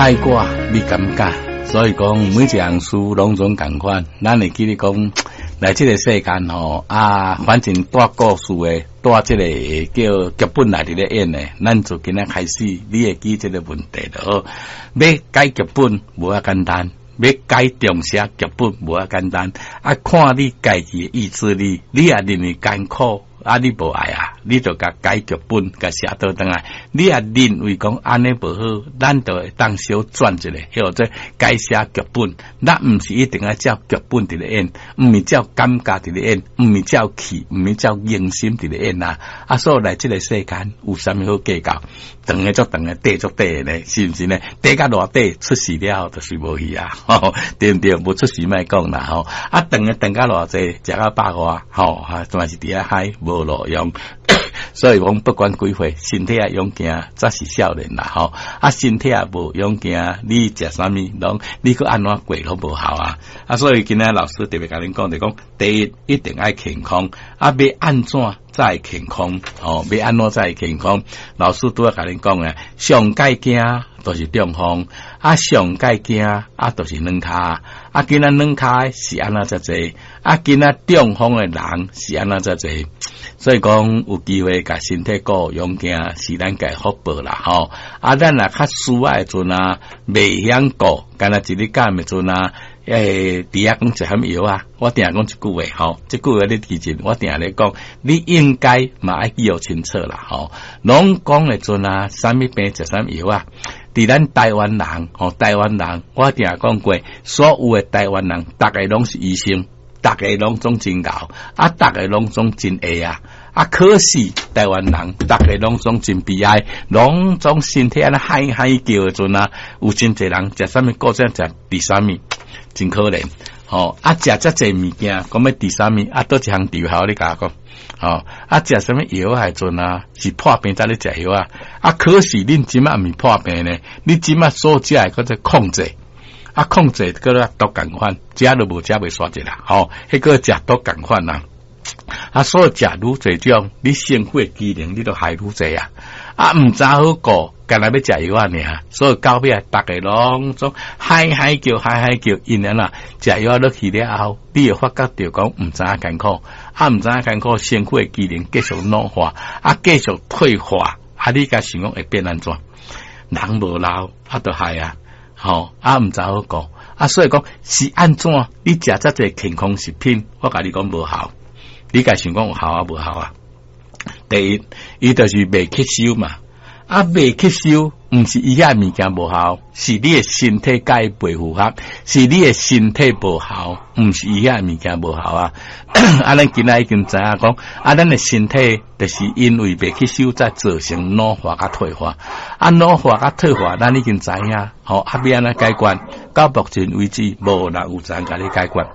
愛我，你感覺？所以講每一項事攏總仝款，咱會記得講來這個世間吼啊，反正帶故事的，帶這個叫劇本來佇咧演的，咱就今仔開始，你會記這個問題就好。欲改劇本無遐簡單，欲改重寫劇本無遐簡單，啊，看你家己的意志力，你若認為艱苦，啊，你無愛啊，你就共改劇本，共寫倒轉來。你若認為講按呢無好，咱就會當小轉一下，叫做改寫劇本。咱毋是一定愛照劇本佇咧演，毋是照感覺佇咧演，毋是照氣，毋是照用心佇咧演啊。啊，所以來這個世間有啥物好計較？長的足長的，短足短的呢，是毋是呢？短甲偌短，出事了後就是無去啊，對毋對？無出事莫講啦吼。啊，長的長甲偌濟，食到百外吼，啊，嘛是佇遐海無路用。所以講不管幾歲，身體愛勇健，才是少年啦吼。啊，身體也無勇健，你食啥物攏，你閣按怎過攏無效啊。啊，所以今仔老師特別共恁講，就講第一一定愛健康，啊，欲按怎才會健康？哦，欲按怎才會健康？老師拄仔共恁講的，上蓋驚就是中風，啊，上蓋驚啊，就是軟跤，啊，今仔軟跤是按怎遮濟？啊，今仔中風的人是按怎遮濟？所以講有機會共身體顧勇健，是咱家福報啦吼。啊，咱若較需要的陣啊，袂曉顧，干焦一日減的陣啊，佇遐講食啥物藥啊？我定講一句話吼，這句話你記住，我定咧講，你應該嘛愛記予清楚啦吼。攏講的陣啊，啥物病食啥物藥啊？佇咱台灣人吼，台灣人，我定講過，所有的台灣人，逐个攏是醫生，逐个攏總真𠢕，啊，逐个攏總真會啊。啊，可是台灣人，逐个攏總真悲哀，攏總身體按呢嗨嗨叫的陣啊，有真濟人食啥物固症，食治啥物，真可憐。吼，啊，食遮濟物件，講欲治啥物？啊，佗一項治好你共我講？吼，啊，食啥物藥的陣啊，是破病才咧食藥啊。啊，可是恁這馬毋是破病呢？你這馬所食的叫做控制，啊，控制閣咧毒仝款，食都無食袂煞一啦。吼，彼個食毒仝款啊。啊，所以食愈濟種，你身體的機能你都害愈濟啊！啊，毋知好顧，干焦欲食藥仔爾，所以到尾逐个攏總嗨嗨叫，嗨嗨叫，因為啦，食藥仔落去了後，你會發覺著講毋知影艱苦，啊，毋知影艱苦，身體的機能繼續老化，啊，繼續退化，啊，你共想講會變按怎？人無老，啊，就害啊，吼，啊，毋知好顧，啊，所以講是按怎？你食遮濟健康食品，我共你講無效。你共想講有效啊，無效啊？第一，伊就是袂吸收嘛。啊，袂吸收，毋是伊遐物件無效，是你的身體共伊袂符合，是你的身體無效，毋是伊遐物件無效啊。啊，咱今仔已經知影講，啊，咱的身體就是因為袂吸收，才造成老化佮退化。啊，老化佮退化，咱已經知影，吼，啊，欲按怎解決？到目前為止，無人有才共你解決。